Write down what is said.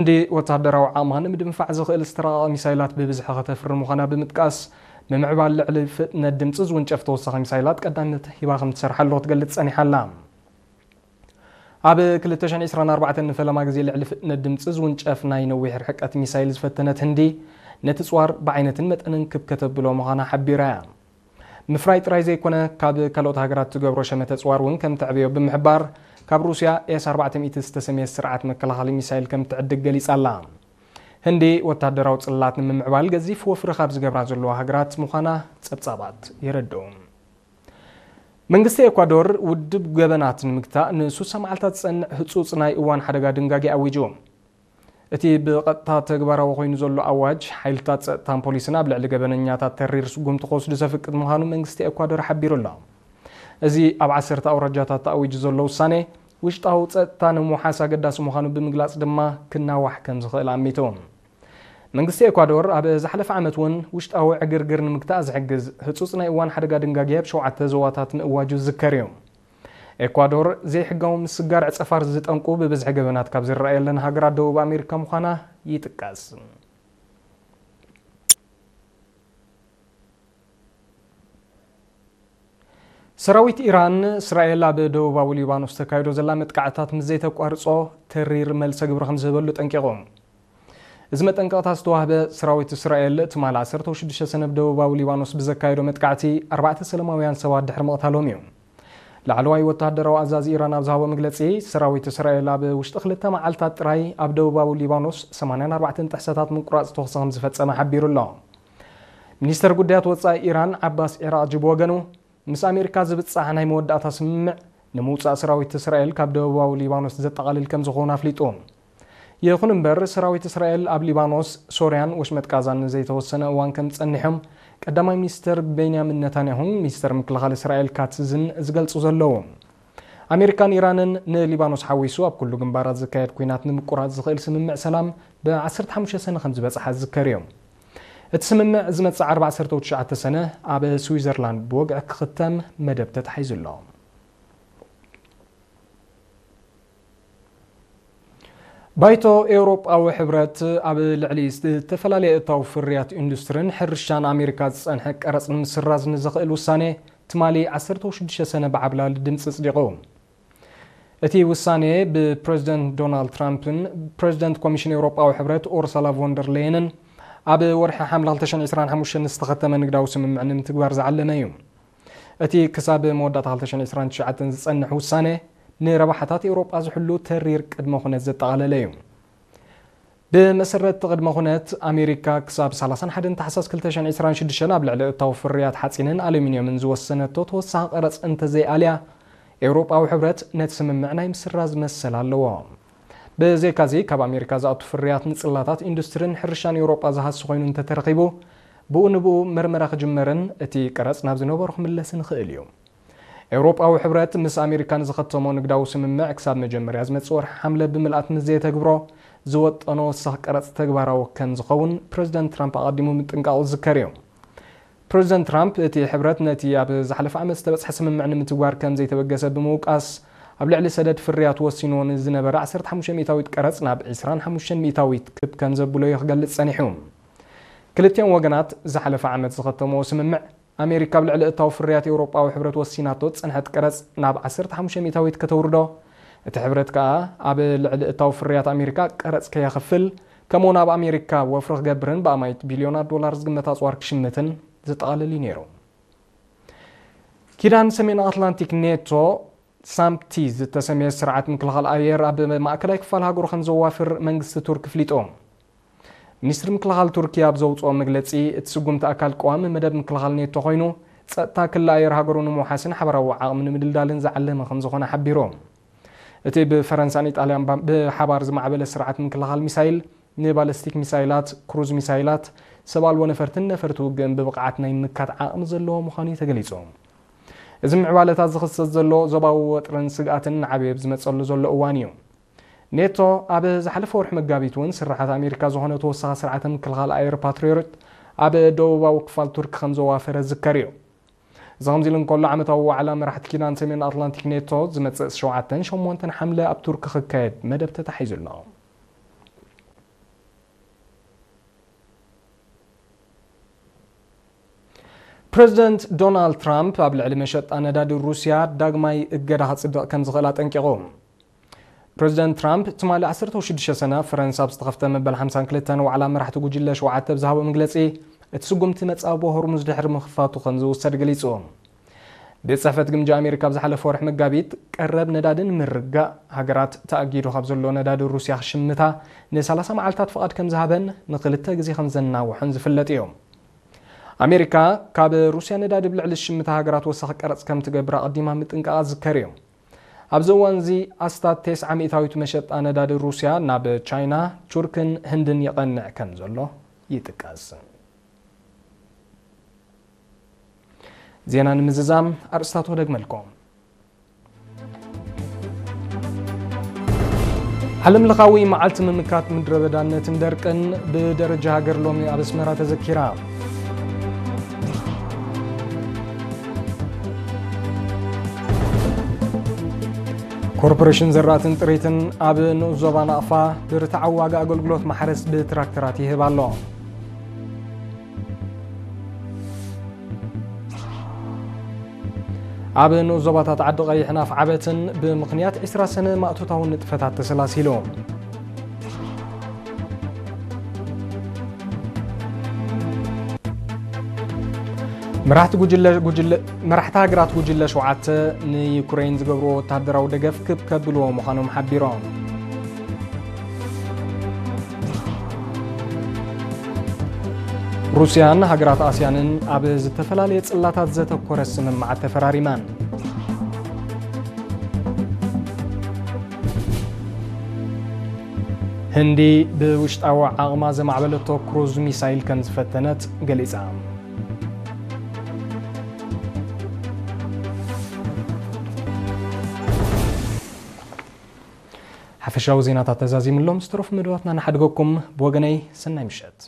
ህንዲ ወታደራዊ ዓቕማ ንምድንፋዕ ዝኽእል ዝተራቐቐ ሚሳይላት ብብዝሒ ከተፍሪ ምዃና ብምጥቃስ፣ ምምዕባል ልዕሊ ፍጥነት ድምፂ ዝውንጨፍ ተወሳኺ ሚሳይላት ቀዳምነት ሂባ ከም ትሰርሓሉ ክትገልጽ ጸኒሓ ኣላ። ኣብ ክልተ ሽሕን ዕስራን ኣርባዕተን ንፈለማ ግዜ ልዕሊ ፍጥነት ድምፂ ዝውንጨፍ ናይ ነዊሕ ርሕቀት ሚሳይል ዝፈተነት ህንዲ፣ ነቲ ጽዋር ብዓይነትን መጠንን ክብ ከተብሎ ምዃና ሓቢራ እያ። ምፍራይ ጥራይ ዘይኮነ፣ ካብ ካልኦት ሃገራት ትገብሮ ሸመተ ጽዋር እውን ከም ተዕብዮ ብምሕባር፣ ካብ ሩስያ ኤስ ኣርባዕተ ሚእቲ ዝተሰምየ ስርዓት መከላኸሊ ሚሳይል ከም ትዕድግ ገሊጻ ኣላ። ህንዲ ወታደራዊ ጽላት ንምምዕባል ገዚፍ ወፍሪ ካብ ዝገብራ ዘለዋ ሃገራት ምዃና ጸብጻባት የረድኡ። መንግስቲ ኤኳዶር ውድብ ገበናት ንምግታእ ንሱሳ መዓልታት ዝጸንዕ ህጹጽ ናይ እዋን ሓደጋ ድንጋጌ ኣዊጁ። እቲ ብቐጥታ ተግባራዊ ኮይኑ ዘሎ ኣዋጅ፣ ሓይልታት ጸጥታን ፖሊስን ኣብ ልዕሊ ገበነኛታት ተሪር ስጉምቲ ክወስዱ ዘፍቅድ ምዃኑ መንግስቲ ኤኳዶር ሓቢሩ ኣሎ። እዚ ኣብ ዓሰርተ ኣውራጃታት ተኣዊጁ ዘሎ ውሳኔ፣ ውሽጣዊ ጸጥታ ንምውሓስ ኣገዳሲ ምዃኑ ብምግላጽ ድማ ክናዋሕ ከም ዝኽእል ኣሚቱ። መንግስቲ ኤኳዶር ኣብ ዝሓለፈ ዓመት እውን ውሽጣዊ ዕግርግር ንምግታእ ዝሕግዝ ህጹጽ ናይ እዋን ሓደጋ ድንጋጌ ኣብ ሸውዓተ ዞባታት ምእዋጁ ዝዝከር እዩ። ኤኳዶር ዘይሕጋዊ ምስጋር ዕጸፋር ዝጠንቁ ብብዝሒ ገበናት ካብ ዝረኣየለን ሃገራት ደቡብ ኣሜሪካ ምዃና ይጥቀስ። ሰራዊት ኢራን፣ እስራኤል ኣብ ደቡባዊ ሊባኖስ ተካይዶ ዘላ መጥቃዕታት ምስ ዘይተቋርጾ፣ ተሪር መልሰ ግብሪ ከም ዝህበሉ ጠንቂቑ። እዚ መጠንቀቕታ ዝተዋህበ፣ ሰራዊት እስራኤል ትማሊ ዓሰርተ ሽዱሽተ ሰነ ኣብ ደቡባዊ ሊባኖስ ብዘካየዶ መጥቃዕቲ ኣርባዕተ ሰላማውያን ሰባት ድሕሪ ምቕታሎም እዩ። ላዕለዋይ ወተሃደራዊ ኣዛዚ ኢራን ኣብ ዝሃቦ መግለጺ፣ ሰራዊት እስራኤል ኣብ ውሽጢ ክልተ መዓልታት ጥራይ ኣብ ደቡባዊ ሊባኖስ ሰማንያን ኣርባዕተን ጥሕሰታት ምቁራጽ ተኹሲ ከም ዝፈጸመ ሓቢሩ ኣሎ። ሚኒስተር ጉዳያት ወጻኢ ኢራን ዓባስ ዒራቕጂ ብወገኑ፣ ምስ ኣሜሪካ ዝብጻሕ ናይ መወዳእታ ስምምዕ ንምውጻእ ሰራዊት እስራኤል ካብ ደቡባዊ ሊባኖስ ዘጠቓልል ከም ዝኾነ ኣፍሊጡ። ይኹን እምበር፣ ሰራዊት እስራኤል ኣብ ሊባኖስ፣ ሶርያን ወሽመጥ ጋዛን ንዘይተወሰነ እዋን ከም ዝጸንሖም ቀዳማይ ሚኒስተር ቤንያሚን ነታንያሁን ሚኒስተር ምክልኻል እስራኤል ካትዝን ዝገልጹ ዘለዉ። ኣሜሪካን ኢራንን ንሊባኖስ ሓዊሱ ኣብ ኩሉ ግንባራት ዝካየድ ኲናት ንምቁራጽ ዝኽእል ስምምዕ ሰላም ብ ዓሰርተ ሓሙሽተ ሰነ ከም ዝበጽሓ ዝዝከር እዩ። እቲ ስምምዕ ዝመጽእ ዓርቢ ዓሰርተ ትሽዓተ ሰነ ኣብ ስዊዘርላንድ ብወግዒ ክኽተም መደብ ተታሒዙ ኣሎ። ባይቶ ኤውሮጳዊ ሕብረት ኣብ ልዕሊ ዝተፈላለየ እታው ፍርያት ኢንዱስትሪን ሕርሻን ኣሜሪካ ዝጸንሐ ቀረጽ ንምስራዝ ንዘኽእል ውሳኔ ትማሊ ዓሰርተ ሽዱሽተ ሰነ ብዓብላሊ ድምጺ ኣጽዲቑ። እቲ ውሳኔ ብፕረዚደንት ዶናልድ ትራምፕን ፕረዚደንት ኮሚሽን ኤውሮጳዊ ሕብረት ኡርሳላ ቮንደር ሌየንን ኣብ ወርሒ ሓምለ ክልተ ሽሕን ዕስራን ሓሙሽተን ዝተኸተመ ንግዳዊ ስምምዕ ንምትግባር ዝዓለመ እዩ። እቲ ክሳብ መወዳእታ ክልተ ሽሕን ዕስራን ትሽዓተን ዝጸንሕ ውሳኔ፣ ንረብሓታት ኤውሮጳ ዝሕሉ ተሪር ቅድመ ኩነት ዘጠቓለለ እዩ። ብመሰረት እቲ ቅድመ ኩነት፣ ኣሜሪካ ክሳብ ሰላሳን ሓደን ታሕሳስ ክልተ ሽሕን ዕስራን ሽዱሽተን ኣብ ልዕሊ እታው ፍርያት ሓጺንን ኣሉሚንየምን ዝወሰነቶ ተወሳኺ ቀረጽ እንተዘይኣልያ፣ ኤውሮጳዊ ሕብረት ነቲ ስምምዕ ናይ ምስራዝ መሰል ኣለዎ። ብዘይካዚ፣ ካብ ኣሜሪካ ዝኣቱ ፍርያት ንጽላታት ኢንዱስትሪን ሕርሻን ኤውሮጳ ዝሃሲ ኮይኑ እንተተረኺቡ፣ ብኡ ንብኡ መርመራ ክጅመርን እቲ ቀረጽ ናብ ዝነበሮ ክምለስን ይኽእል እዩ። ኤውሮጳዊ ሕብረት ምስ ኣሜሪካ ንዝኸተሞ ንግዳዊ ስምምዕ ክሳብ መጀመርያ ዝመጽእ ወርሒ ሓምለ ብምልኣት ምስ ዘየተግብሮ፣ ዝወጠኖ ወሳኺ ቀረጽ ተግባራዊ ከም ዝኸውን ፕረዚደንት ትራምፕ ኣቐዲሙ ምጥንቃቑ ዝዝከር እዩ። ፕረዚደንት ትራምፕ፣ እቲ ሕብረት ነቲ ኣብ ዝሓለፈ ዓመት ዝተበጽሐ ስምምዕ ንምትግባር ከም ዘይተበገሰ ብምውቃስ፣ ኣብ ልዕሊ ሰደድ ፍርያት ወሲንዎ ንዝነበረ ዓሰርተ ሓሙሽተ ሚእታዊት ቀረጽ ናብ ዕስራን ሓሙሽተን ሚእታዊት ክብ ከም ዘብሎ እዩ ክገልጽ ጸኒሑ። ክልቲኦም ወገናት ዝሓለፈ ዓመት ዝኸተምዎ ስምምዕ፣ ኣሜሪካ ኣብ ልዕሊ እታው ፍርያት ኤውሮጳዊ ሕብረት ወሲናቶ ዝጸንሐት ቀረጽ ናብ ዓሰርተ ሓሙሽተ ሚእታዊት ከተውርዶ፣ እቲ ሕብረት ከኣ ኣብ ልዕሊ እታው ፍርያት ኣሜሪካ ቀረጽ ከየኽፍል፣ ከምኡውን ኣብ ኣሜሪካ ወፍሪ ክገብርን ብኣማይት ቢልዮናት ዶላር ዝግመት ኣጽዋር ክሽምትን ዘጠቓልል እዩ ነይሩ። ኪዳን ሰሜን ኣትላንቲክ ኔቶ፣ ሳምፕቲ ዝተሰምየ ስርዓት ምክልኻል ኣየር ኣብ ማእከላይ ክፋል ሃገሩ ከም ዘዋፍር መንግስቲ ቱርኪ ኣፍሊጡ። ሚኒስትሪ ምክልኻል ቱርኪ ኣብ ዘውፅኦ መግለፂ፣ እቲ ስጉምቲ ኣካል ቀዋሚ መደብ ምክልኻል ኔቶ ኮይኑ፣ ፀጥታ ክሊ ኣየር ሃገሩ ንምውሓስን ሓበራዊ ዓቕሚ ንምድልዳልን ዝዓለመ ከም ዝኾነ ሓቢሩ። እቲ ብፈረንሳን ኢጣልያን ባ-፣ ብሓባር ዝማዕበለ ስርዓት ምክልኻል ሚሳይል፣ ንባለስቲክ ሚሳይላት፣ ክሩዝ ሚሳይላት፣ ሰብ ኣልቦ ነፈርትን ነፈርቲ ውግእን ብብቕዓት ናይ ምምካት ዓቕሚ ዘለዎ ምዃኑ እዩ ተገሊጹ። እዚ ምዕባለታት ዝኽሰት ዘሎ ዞባዊ ወጥርን ስግኣትን እናዓበየ ኣብ ዝመጸሉ ዘሎ እዋን እዩ። ኔቶ ኣብ ዝሓለፈ ወርሒ መጋቢት እውን ስርሓት ኣሜሪካ ዝኾነ ተወሳኺ ስርዓተ ምክልኻል ኣየር ፓትሪዮት ኣብ ደቡባዊ ክፋል ቱርኪ ከም ዘዋፈረ ዝዝከር እዩ። እዚ ከምዚ ኢሉ እንከሎ፣ ዓመታዊ ዋዕላ መራሕቲ ኪዳን ሰሜን ኣትላንቲክ ኔቶ ዝመጽእ ሸውዓተን ሸሞንተን ሓምለ ኣብ ቱርኪ ክካየድ መደብ ተታሒዙ ኣሎ። ፕረዚደንት ዶናልድ ትራምፕ ኣብ ልዕሊ መሸጣ ነዳዲ ሩስያ ዳግማይ እገዳ ከጽድቕ ከም ዝኽእል ኣጠንቂቑ። ፕረዚደንት ትራምፕ ትማሊ ዓሰርተ ሽዱሽተ ሰነ ኣብ ፈረንሳ ኣብ ዝተኸፍተ መበል ሓምሳን ክልተን ዋዕላ መራሕቲ ጉጅለ ሸውዓተ ብዝሃቦ መግለጺ፣ እቲ ስጉምቲ መጻብቦ ሆርሙዝ ድሕሪ ምኽፋቱ ከም ዝውሰድ ገሊጹ። ቤት ጽሕፈት ግምጃ ኣሜሪካ ኣብ ዝሓለፈ ወርሒ መጋቢት፣ ቀረብ ነዳዲ ንምርጋእ ሃገራት ተኣጊዱ ካብ ዘሎ ነዳዲ ሩስያ ክሽምታ ንሰላሳ መዓልታት ፍቓድ ከም ዝሃበን ንኽልተ ግዜ ከም ዘናውሖን ዝፍለጥ እዩ። ኣሜሪካ ካብ ሩስያ ነዳዲ ብልዕሊ ዝሽምታ ሃገራት ወሳኺ ቀረጽ ከም ትገብር ኣቐዲማ ምጥንቃቓ ዝዝከር እዩ። ኣብዚ እዋን እዚ ኣስታት ተስዓ ሚእታዊት መሸጣ ነዳዲ ሩስያ ናብ ቻይና፣ ቱርክን ህንድን ይቐንዕ ከም ዘሎ ይጥቀስ። ዜና ንምዝዛም ኣርእስታቱ ክደግመልኩም። ዓለም ለኻዊ መዓልቲ ምምካት ምድረ በዳነትን ደርቅን ብደረጃ ሃገር ሎሚ ኣብ ኣስመራ ተዘኪራ። ኮርፖሬሽን ዘራእትን ጥሪትን ኣብ ንኡስ ዞባ ናቕፋ ብርትዓዊ ዋጋ ኣገልግሎት ማሕረስ ብትራክተራት ይህብ ኣሎ። ኣብ ንኡስ ዞባታት ዓዲ ቀይሕን ኣፍዓበትን ብምኽንያት ዕስራ ሰነ ማእቶታዊ ንጥፈታት ተሰላሲሉ። መራሕቲ ጉጅለ፣ ጉጅለ፣ መራሕቲ ሃገራት ጉጅለ ሸውዓተ ንዩክሬን ዝገብርዎ ወታደራዊ ደገፍ ክብ ከብልዎ ምዃኖም ሓቢሮም። ሩስያን ሃገራት ኣስያንን ኣብ ዝተፈላለየ ጽላታት ዘተኮረ ስምምዓት ተፈራሪመን። ህንዲ ብውሽጣዊ ዓቕማ ዘማዕበለቶ ክሩዝ ሚሳይል ከም ዝፈተነት ገሊጻ። ሓፈሻዊ ዜናታት ተዛዚምሎም ዝተረፉ መደባትና ንሓድገኩም። ብወገነይ ሰናይ ምሸት።